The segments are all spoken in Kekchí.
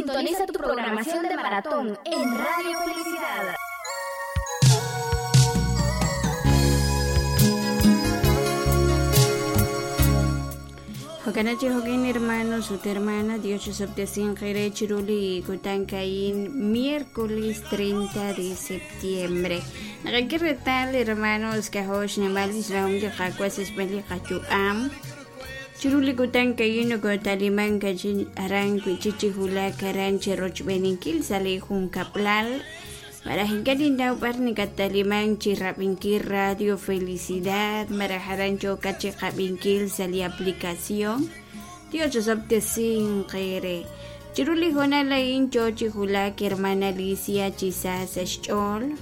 Sintoniza tu programación de maratón en Radio Felicidad. Jokanachi jokin hermanos ut hermana Dios chusoptesin qere chiruli kutan kain miércoles 30 de septiembre. Naqaki retal hermanos kahosh nemalis raum li qakuas esbeli qachu'am. Chiruli kutan kain nokotaliman kachin aran kuichichi hula karan cherochbeninkil sali junkaplal. Marahinkalin daw par ni kataliman chirrabinkil Radio Felicidad, marajaran chocache qabinkil sali aplicación. Dios chosoptesin qere. Chiruli jonalain chochi hulak hermana Alicia chisas xch'ol.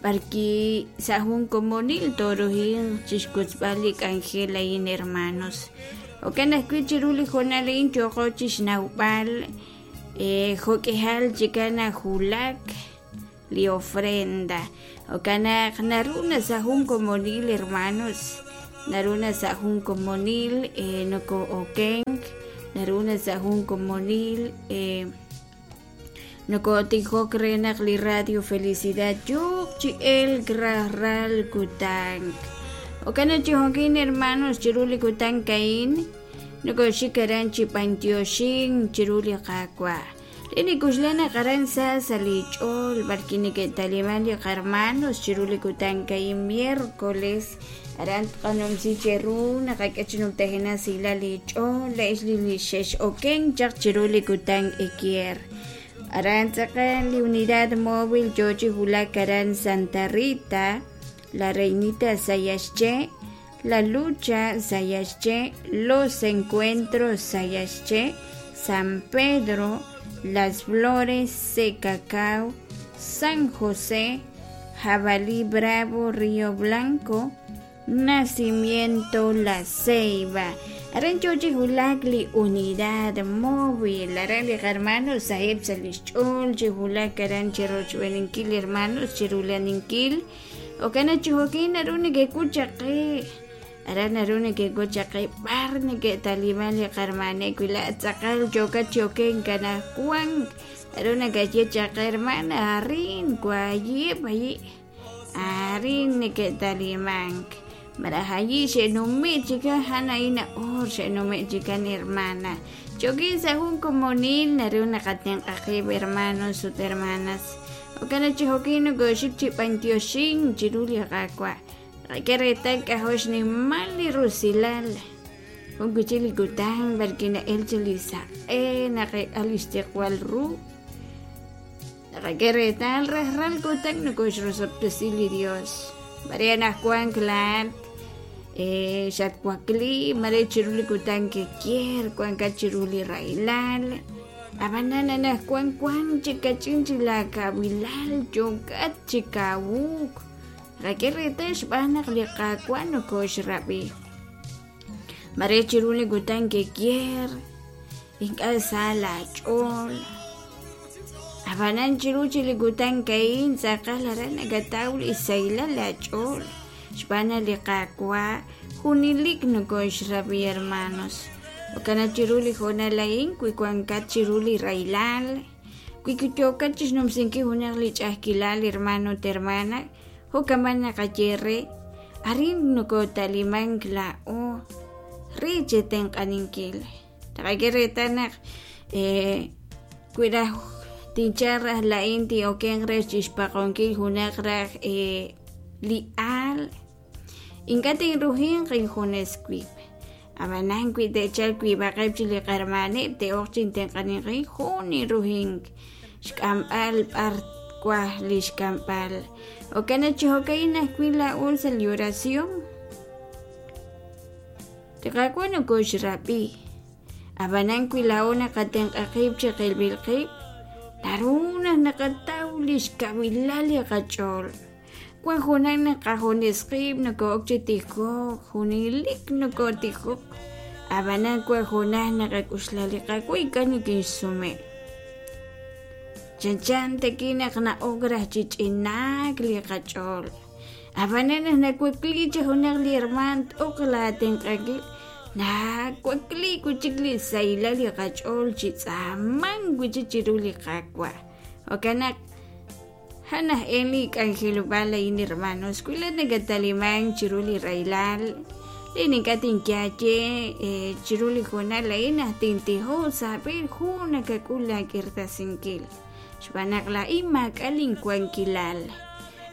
Parki sahun komonil torohin chishkutzbalik angelain hermanos. Okanakui chiruli jonalain choqo chisnaupal jokehal chikana hulak li ofrenda. Okanak naruna sahun komonil hermanos. Naruna sahun komonil noko okenk. Naruna sahun komonil noko tijok renak li Radio Felicidad yuk chi el grarral kutank. Okana chihokin hermanos chiruli kutank kain. Noko shikaran chipantioxin chiruli kakwa. Lini kuslana karansa salichol barkini que taliman li hermanos chiruli kutank kain miércoles. Aran qanom si cheru naqak'achinum tajena sila lich'ol la isli li xex oken chaq chiruli kutank ekier. Aran tzaqan li unidad móvil yochi hulak aran Santa Rita, la Reinita Sayasche, la Lucha Sayasche, los Encuentros Sayasche, San Pedro, Las Flores, Secacao, San José, Jabalí Bravo, Río Blanco, Nacimiento La Ceiba. Aran chochi hulak li unidad móvil. Aran li hermanos sahib salischul chihulak aran chirochweninkil hermanos chirulaninkil. Okana chihokin aruni que kuchaqi. Aran aruni que kuchaqi barni que taliban li hermane kuila tzaqal choka choken kana kuan. Aruna que chaqi hermana arin kuayi bayi. Arin que taliman. Marahayi xenumi chica hanaina or xenumi chica ni hermana. Chokin sahun komonil naruna katen qaqib hermanos ut hermanas. Okana chihokin goshik chipantioxin chiruli qaqwa. Qakeretan kahosh ni mali rusilal. Unkuchili kutan barkina elchelisa. Naqe alistiqwal ru. Qakeretan rajral kutan nukosh rusoptesili Dios. Mariana Juan Clan, Xatcuacli, Mare Chiruli Kutan que quier, Juan Cachiruli Railal, Abanana Juan Juan, Chicachin Chilakabilal, Choncat Chicawuk, Raquel Retesh Banak Licacuano Koshrabi. Mare Chiruli Kutan que quier, Inca Sala Chol. Abanan chiruchi likutan kain saqalarana gataul isaila la chol. Xbana liqaqwa junilik nukoxrabi hermanos. Okana chiruli jonalain kuikuankat chiruli railal. Kuikuchokachis nomsinki junaq lich'ajkilal hermano termana. Jokamana qayerre. Arin nukotaliman kla'o. Riche tenq'aninkil. Taqakerretanaq kuiraj tincharras la inti o kenres chispaqonkil junaqraj li'al inkatin rujin qinjuneskuip abanan kuitechal kuibaqeb chiliqarmanib te oqchin tenqaninqin juni rujin xk'amb'al p'arkuaj lixk'amb'al okana chijokayna kuila ulsa li oración tiqakuano koxrapi abanan kuilaona qatenq'aqib chiqilbilqib Taruna naqatawlish kabilali qach'ol. Kuan junan naqajunisqib nokokchitijoj, junilik nokotijoj. Abanan kuan junan naqak'uxlali qakuy kanikinsume. Chanchan tekinaq na'ograj chich'inak li qach'ol. Abanan nakuakliche junaq li herman t'oq la tenq'akil. Nawakliik wi' chik li sahilal li qach'ool chi tz'aamank wi' chik chiru li Qaawa'. Jo'kan naq a'an aj e li k'anjelob'aal a'in hermanos, wi laa'at nakat'alimank chiru li rahilal, li ink'a' tinyaaye chiru li hoonal a'in naq tintijoq sa' aab'een jun nakak'ul laak'irtasinkil. Xb'aan naq laa'in maak'a' linwankilal.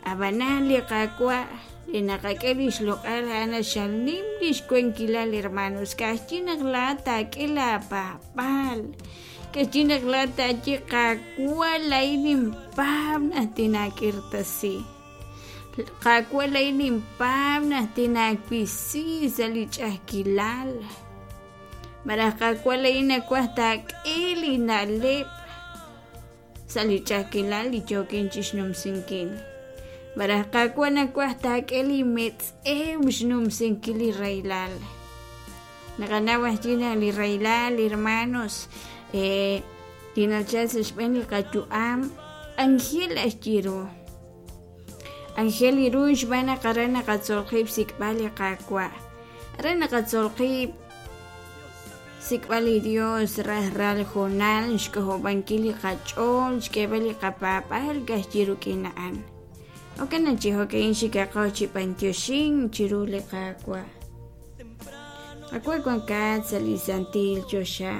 Ab'anan li Qaawa' li naqak'e li xloq'al a'an xal nim li xwankilal hermanos. Ka'ajwi' naq laa'at taak'e laapaab'aal. Ka'ajwi' naq laa'at taaye Qaawa' laa'in ninpaab' naq tinaak'irtasi. Qaawa' laa'in ninpaab' naq tinaawisi sa' li ch'a'ajkilal. Malaj Qaawa' laa'in nawaj taak'e li na'leb' sa' li ch'a'ajkilal li yookin chixnumsinkil. Malaj Qaawa' nawaj taak'e li metz'ew xnumsinkil li rahilal. Naqanaw ajwi' naq li rahilal, hermanos, li nachal sa' xb'een li qayu'am, anjel ajwi' ru. Anjel li ru xb'aan naq aran naqatzol qib' xsik'b'al li Qaawa'. Aran naqatzol qib' xsik'b'al li Dios rajlal hoonal, xk'ojob'ankil li qach'ool, xk'eeb'al li qapaab'aal ka'ajwi' rik'in a'an. Jo'kan naq chi jo'ka'in xikaqo chi b'antioxink chiru li Qaawa'. Qaawa' wankat sa' li santil choxa.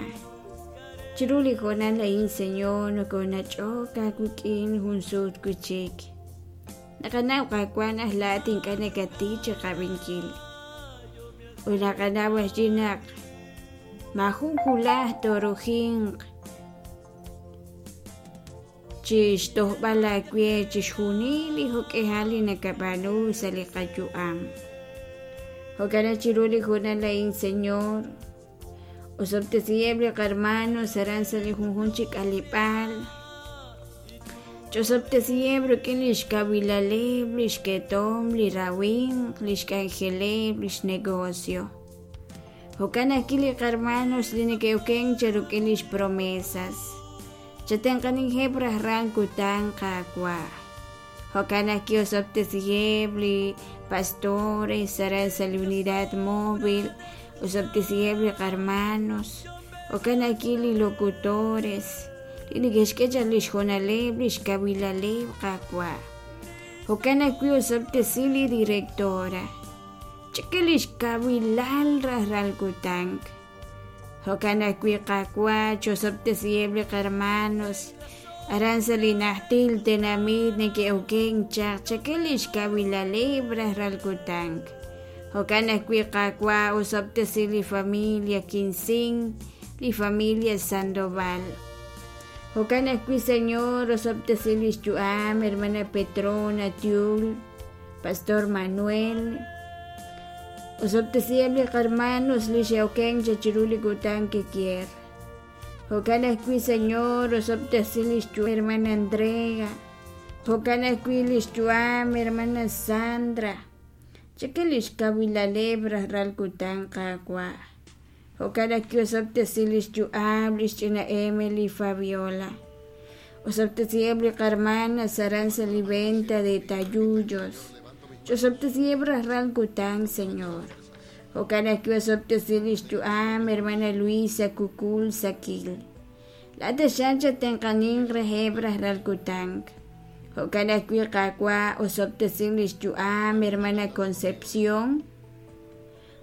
Chiru li hoonal a'in, Señor, nokonach'ok aawik'in jun sut wi' chik. Naqanaw Qaawa' naq laa'at ink'a' nakatij chiqab'inkil. Ut naqanaw ajwi' naq maajun wulaj toorujinq chi xtojb'al aawe chixjunil li jo'k'ihal li nakab'aanu sa' li qayu'am. Jo'kan naq chiru li hoonal a'in, Señor, osob'tesiheb' li qarmanos aran sa' li junjunq chi k'aleb'aal. Ch'osob'tesiheb' rik'in li xkawilaleb', li xketom, li rawimq, li xk'anjeleb', li xnegocio. Jo'kan ajwi' li qarmanos li neke'okenk cheruk'in lix promesas. Chatenq'aniheb' rajlal kutan, Qaawa'. Jo'kan ajwi' osob'tesiheb' li pastores aran sa' li unidad móvil, osob'tesiheb' li qarmanos, jo'kan ajwi' li locutores li neke'xk'e chaq lix hoonaleb', lix kawilaleb', Qaawa'. Jo'kan ajwi' osob'tesi li directora. Ch'ike lix kawilal rajlal kutan. Jo'kan ajwi' Qaawa' chosob'tesiheb' li qarmanos aran sa' li najtil tenamit neke'okenk chaq chake lix kawilaleb' rajlal kutan. Jo'kan ajwi' Qaawa' osob'tesi li familia Quincín, li familia Sandoval. Jo'kan ajwi' Señor osob'tesi lix yu'am hermana Petrona Tiul, Pastor Manuel. Osob'tesiheb' li qarmanos li xe'okenk chaq chiru li kutan kikier. Jo'kan ajwi' Señor osob'tesi lix yu'am hermana Andrea. Jo'kan ajwi' lix yu'am hermana Sandra. Chake lix kawilaleb' rajlal kutan Qaawa'. Jo'kan ajwi' osob'tesi lix yu'am lix ch'ina Emily Fabiola. Osob'tesiheb' li qarmanas aran sa' li venta de tayuyos. Ch'osob'tesiheb' rajlal kutan, Señor. Jo'kan ajwi' osob'tesi lix yu'am hermana Luisa Kukul Sakil. Laa'at taxaq chatenq'aninq reheb' rajlal kutan. Jo'kan ajwi' Qaawa' osob'tesi lix yu'am hermana Concepción.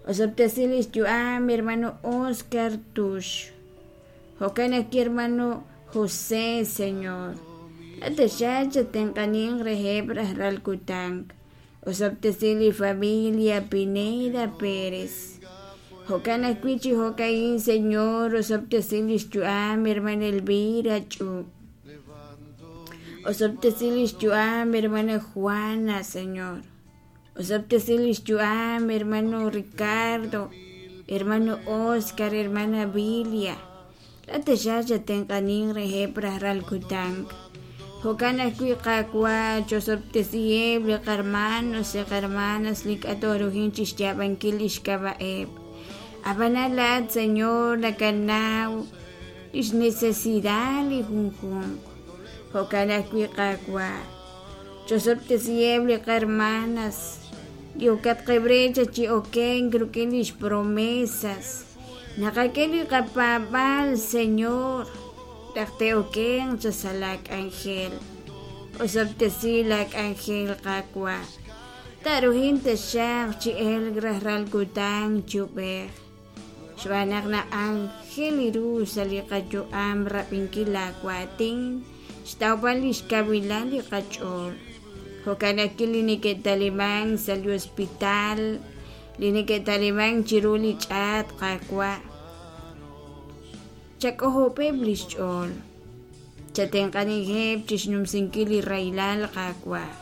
Osob'tesi lix yu'am hermano Oscar Tux. Jo'kan ajwi' hermano José, Señor. Laa'at taxaq chatenq'aninq reheb' rajlal kutan. Osob'tesi li familia Pineda Pérez. Jo'kan ajwi' chi jo'ka'in, Señor, osob'tesi lix yu'am hermana Elvira Ch'ub. Osob'tesi lix yu'am hermana Juana, Señor. Osob'tesi lix yu'am hermano Ricardo, hermano Oscar, hermana Bilia. Laa'at taxaq chatenq'aninq reheb' rajlal kutan. Jo'kan ajwi' Qaawa' chosob'tesiheb' li qarmanos, li qarmanas li ink'a' toorujin chixyaab'ankil lix k'ab'a'eb'. Ab'anan laa'at, Señor, nakanaw lix necesidad li junjunq. Jo'kan ajwi' Qaawa' chosob'tesiheb' li qarmanas Yokatqeb' re chi okenk rik'in lix promesas. Naqak'e li qapaab'aal, Señor, raj te'okenq cha sa' la k'anjel. Osob'tesi la k'anjel Qaawa'. Taruhin taxaq chi elk rajlal kutan chub'ej. Xb'aan naq na'anjel ru sa' li qayu'am rab'inkil laawaatin, xtawb'al lix kawilal li qach'ool. Jo'kan ajwi' li neke'talimank sa' li hospital, li neke'talimank chiru li ch'aat Qaawa'. Chak'ojob'eb' lix ch'ool. Chatenq'anijeb' chixnumsinkil li rahilal Qaawa'.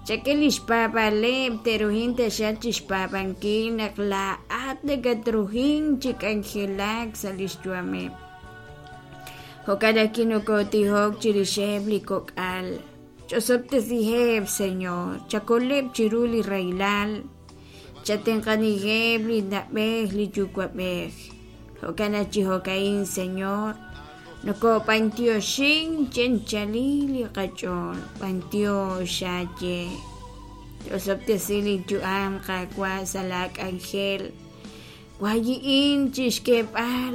Chak'e lix paab'aaleb' te'ruhin taxaq chixpaab'ankil naq laa'at nakatruhin chi k'anjelak sa' lix yu'ameb'. Jo'kan ajwi' nokotijok chirixeb' li kok'al. Ch'osob'tesiheb', Señor, chakoleb' chiru li rahilal. Chatenq'anijeb' li na'b'ej li yuwa'b'ej. Jo'kan aj chi jo'ka'in, Señor, nokob'antioxin chenchali li qach'ool, b'antiox aaye. Ch'osob'tesi li yu'am Qaawa' sa' la k'anjel. Wayi'in chixk'eeb'al.